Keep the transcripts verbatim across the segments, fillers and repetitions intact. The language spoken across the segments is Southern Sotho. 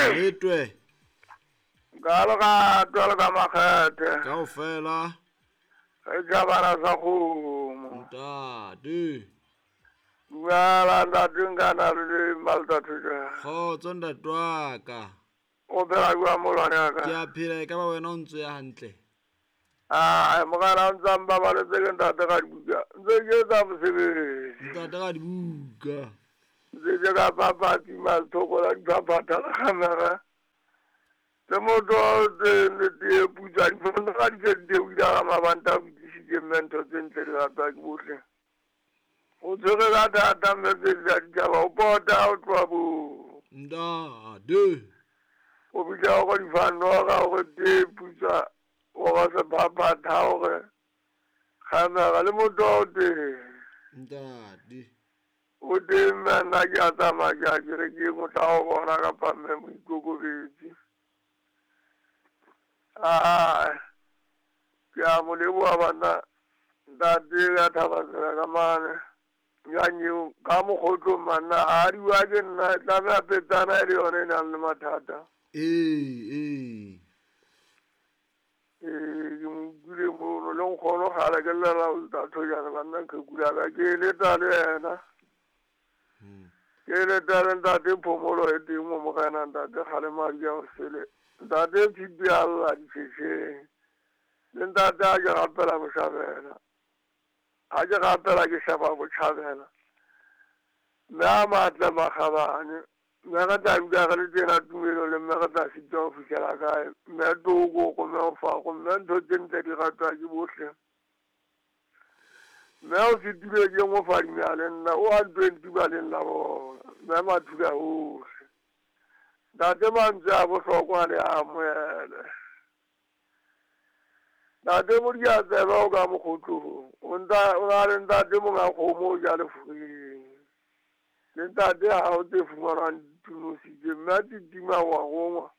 Letwe. Ka loka twalo ka makgethe. Kaofela. Re jabana sa kgomo. Ntate. Dumela ntate nkana le Malta Thuja. Kgotso ntate wa ka. O phela jwang molwane wa ka? Ke a phela, e ka ba wena o ntso ya hantle. Ah, mogala o ntsa mbabaletse ke ntate ga dibuka. Ntse ke etsa mosebetsi. Ntate ga dibuka. Ntse ke ka papatsi mathoko la diphaphatha la camera. Le motho o teng le tee putsa difono ga di se di theohile ga mabanta a botsisitse mme ntho tse ntle di ratwa ke bohle. O tshwere ka thata mme tse di tsa ditjhaba o pota o tloha boo. Ntate. O bitsa hore difanoga hore tee putsa hore sephaphatha hore camera le motho o teng. Ntate. O teng mme nna ke a tsamaya ke a kerekeng o tla o bona kapa mme moikokobetsi. Ah, ke a mo leboha banna ntate ka Thabatsela ka mane. Nyanyeo ka mokgotlong manna a diwa ke nna e tlameha petsana e le yona e nang le mathata. Ee, ee. Ee, ke mo utlwile mono le nkgono kgale ke llela ho Thojane banna qheku la ka ke eletsa le yena. Ke eletsa le ntate Phomolo e teng mo Morena ntate kgale madi a sele. Ntate Tshipi a lla ditjhetjheng. Le ntate a ke rapela botjhabela. A ke rapela ke sheba botjhabela. Mme a matle makgabane. Mme re tla dula re le tena tumelo le mme re tla sitwa ho fihlela kae. Mme toko ko mme o fako mme ntho tse ntle di ratwa ke bohle. Mme o sitile ke mo fadimea le nna o a twenty baleng la bona. Mme mathula ohle. Ntate mantswe a bohlokwa le a amohele. Ntate Modiatsebe o ka mokgotlong. O nta o na le ntate monga kgomo o ja lefureng. Le ntate ha o tse fumanwang ditunositse mme a titima wa gongwa.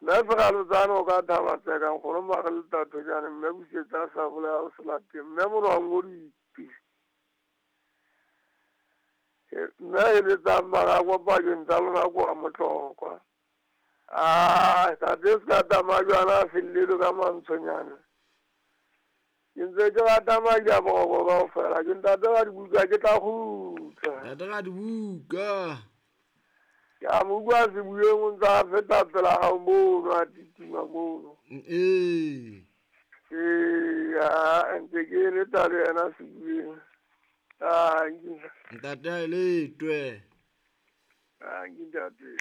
Mme Feralotsane o ka Thabatseka nkgono mare le Thojane mme busetsa sa bolaya o se lapeng mme monwang o dipi. Mme eletsang marago pakeng tsa lona ko a motlokwa. Ah, ntate se ka tsamaya jwana a fellelwe ka mantshonyana. Ke ntse ke rata madi a boroko kaofela. Ke ntate ga dibuka ke tla kgutla. Ntate ga dibuka. Ke a mo utlwa sebueng o ntse a feta pela hao mono a titima mono. Ee. Ee, ah, ntse ke eletsa le yena sebueng. Ah, ntate a letwe. Ah, ntate.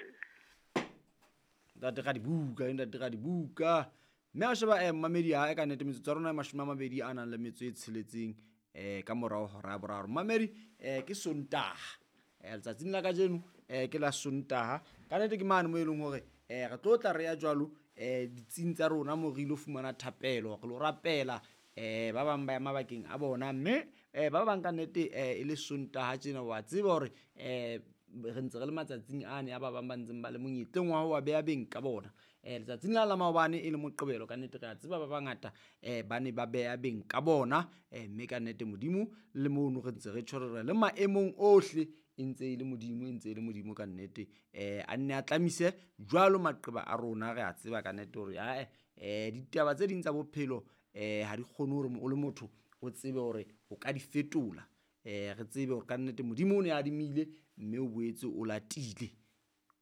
Ntate ga dibuka, ntate ga dibuka. Mme a sheba eh mamedi ha e ka nnete metsotso ya rona e mashome a mabedi a nang le metso e tsheletseng eh ka morao hora ya boraro. Mamedi eh ke Sontaha. Eh letsatsing la kajeno eh ke la Sontaha. Ka nnete ke mane mo e leng hore eh re tlo tla re ya jwalo eh ditsing tsa rona mo re ilo fumana thapelo, re lo rapela eh ba bang ba ya mabakeng a bona mme eh ba bang ka nnete eh e le Sontaha tjena wa tseba hore eh re ntse re le matsatsing ane a ba bang ba ntseng ba le monyetleng wa ho wa beha beng ka bona. Eh letsatsing la la maobane e le Moqebelo ka nnete re a tseba ba bangata eh ba ne ba beha beng ka bona eh mme ka nnete Modimo le mono re ntse re tjhorela le maemong ohle e ntse e le Modimo e ntse e le Modimo ka nnete eh a nne a tlamise jwalo maqeba a rona re a tseba ka nnete hore ae eh ditaba tse ding tsa bophelo eh ha di kgone hore o le motho o tsebe hore o ka di fetola. Eh re tsebe hore ka nnete Modimo o ne a adimile mme o boetse o latile.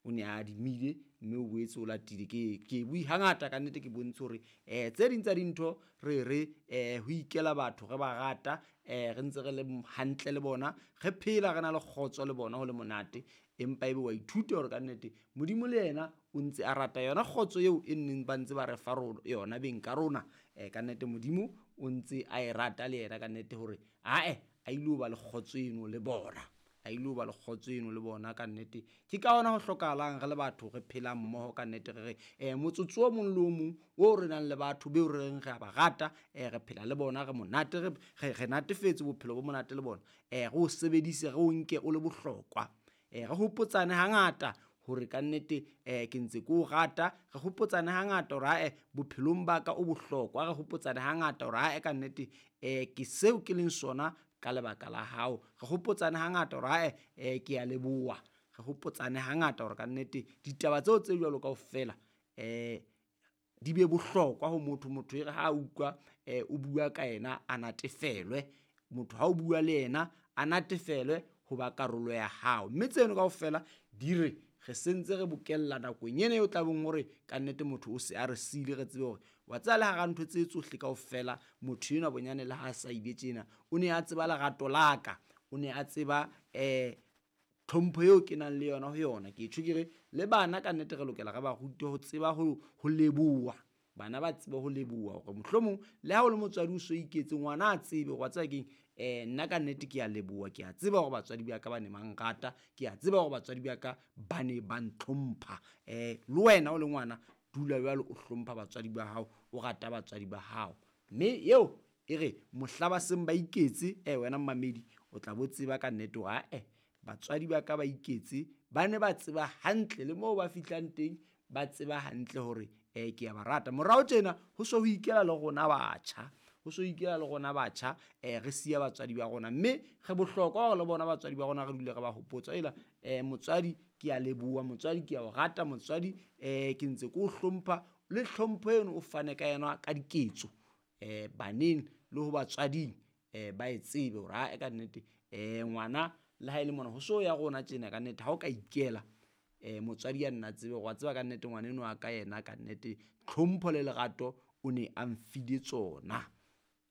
O ne a adimile mme o boetse o latile. Ke ke bui hangata ka nnete ke bontshe hore eh tse ding tsa dintho re re eh ho ikela batho re ba rata eh re ntse re le hantle le bona re phela re na le kgotso le bona ho le monate empa ebe wa ithuta hore ka nnete Modimo le yena o ntse a rata yona kgotso eo e nneng ba ntse ba re fa rona yona beng ka rona eh ka nnete Modimo o ntse a e rata le yena ka nnete hore ae a ile ba le kgotso eno le bona a ile ba le kgotso eno le bona ka nnete. Ke ka hona ho hlokahalang re le batho re phelang mmoho ka nnete re re eh motsotso o mong le o mong o re nang le batho beo re reng re a ba rata eh re phela le bona re monate re re natefetse bophelo bo monate le bona eh re o sebedise re o nke o le bohlokwa eh re hopotsane hangata hore ka nnete eh ke ntse ke o rata re hopotsane hangata hore ae bophelong ba ka o bohlokwa re hopotsane hangata hore ae ka nnete eh ke seo ke leng sona ka lebaka la hao re hopotsane hangata hore ae eh ke a leboha Re hopotsane hangata hore kannete ditaba tseo tse jwalo kaofela um di be bohlokwa ho motho. Motho e re ha a utlwa um o bua ka yena a natefelwe, motho ha o bua le yena a natefelwe ho ba karolo ya hao. Mme tseno kaofela di re re sentse re bokella nakong ena eo tlabeng hore kannete motho o se a re siile, re tsebe hore wa tseba le hara ntho tse tsohle kaofela motho enwa bonyane le ha sa ile tjena o ne a tseba lerato la ka, o ne a tseba um tlhompho eo ke nang le yona ho yona. Ke tjho ke re le bana kannete re lokela re ba rute ho tseba ho, ho leboha. Bana ba tsebe ho leboha hore mohlomong le ha o le motswadi o so iketse, ngwana a tsebe hore wa tseba keng, um nna kannete ke a leboha, ke a tseba hore batswadi ba ka ba ne ba nrata, ke a tseba hore batswadi ba ka ba ne ba ntlhompha. Um le wena o le ngwana dula jwalo o hlompha batswadi ba hao, o rata batswadi ba hao. Mme eo e re mohla ba seng ba iketse, eh wena mmamedi o tla bo tseba kannete hore ae batswadi ba ka ba iketse, ba ne ba tseba hantle le moo ba fihlang teng, ba tseba hantle hore eh ke a ba rata. Morao tjena ho so ho ikela le rona batjha, ho so ikela le rona batjha eh re siya batswadi ba rona, mme re bohlokwa hore le bona batswadi ba rona re dule re ba hopotsa. Ela eh motswadi ke a leboha, motswadi ke a o rata, motswadi eh ke ntse ke o hlompha, le tlhompho eno o fane ka yona ka diketso eh baneng le ho batswading eh ba e tsebe hore ae kannete eh ngwana le ha e le mona ho so ya rona tjena kannete ha o ka ikela eh motswadi a nna tsebe hore wa tseba kannete ngwana enwa wa ka yena kannete tlhompho le lerato o ne a mfile tsona,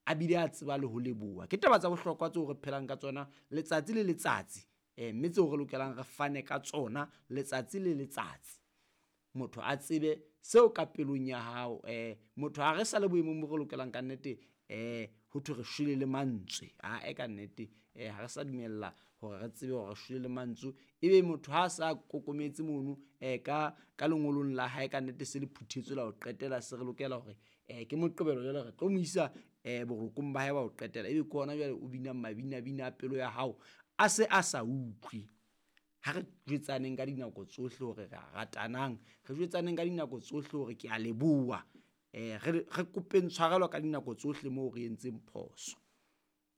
a bile a tseba le ho leboha. Ke taba tsa bohlokwa tseo re phelang ka tsona letsatsi le letsatsi, eh mme tseo re lokelang re fane ka tsona letsatsi le letsatsi. Motho a tsebe seo ka pelong ya hao. Eh motho ha re sa le boemong bo re lokelang kannete eh ho thwe re shwele le mantswe. Ae kannete eh ha re sa dumella hore re tsebe hore re shwele le mantswe, ebe motho ha sa kokometse mono eh ka ka lengolong la hae kannete se le phuthetswe la ho qetela, se re lokela hore eh ke Moqebelo jwale re tlo mo isa eh borokong ba hae ba ho qetela, ebe ke hona jwale o binang mabinabina a pelo ya hao a se a sa utlwe. Ha re jwetsaneng ka dinako tsohle hore re a ratanang, re jwetsaneng ka dinako tsohle hore ke a leboha, eh re re kopeng tshwarelo ka dinako tsohle moo re entseng phoso.